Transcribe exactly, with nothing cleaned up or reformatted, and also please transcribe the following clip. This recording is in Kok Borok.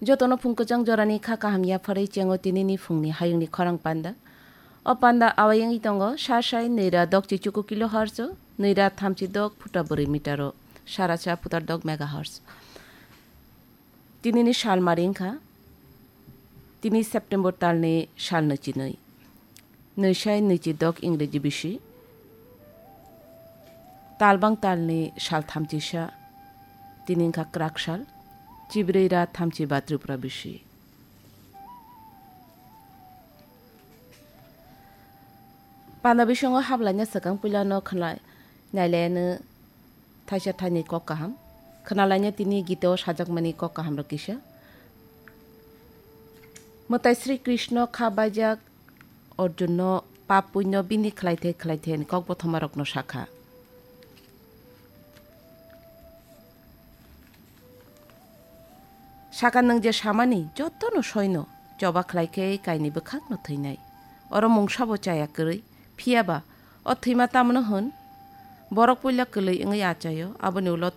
Jotono phung kwchang jorani kha kaham yapharwi chengo tinini phungni hayungni khorang panda. O panda awayangwi tongo sa sai nwi ra dok chi chuku kilohertz, nwi ra thamchi dok phuta bwrwi meter o, sara cha phutar dok megahertz. Tinini sal mari wngkha, tini September talni sal nwi chi nwi. Nwi sai nwi chi dok Ingreji bisi. Talbang talni sal thamchi sa, tini wngkha kwrak sal, chibrwi ra thamchi ba Tripura bisi. Panda bisingo hablaina swkang puilano khwnai nailaiano thaisa thainwi kok kaham. Khwnalaina tini Gita o sajakmani kok kaham rok kisa. Mwtai Sri Krishna kha baijak Arjunno pap punyo bini khlaithai khlaithai ni kok bothoma rokno sakha. Saka nwng je samani jotono soino choba khlai khe kaini bwkhakno thwinai. Oro mungsabo chaya kwrwi, phiya ba o thwima tamno hwn? Borok puila kwlwi wngwi achaio, aboni ulo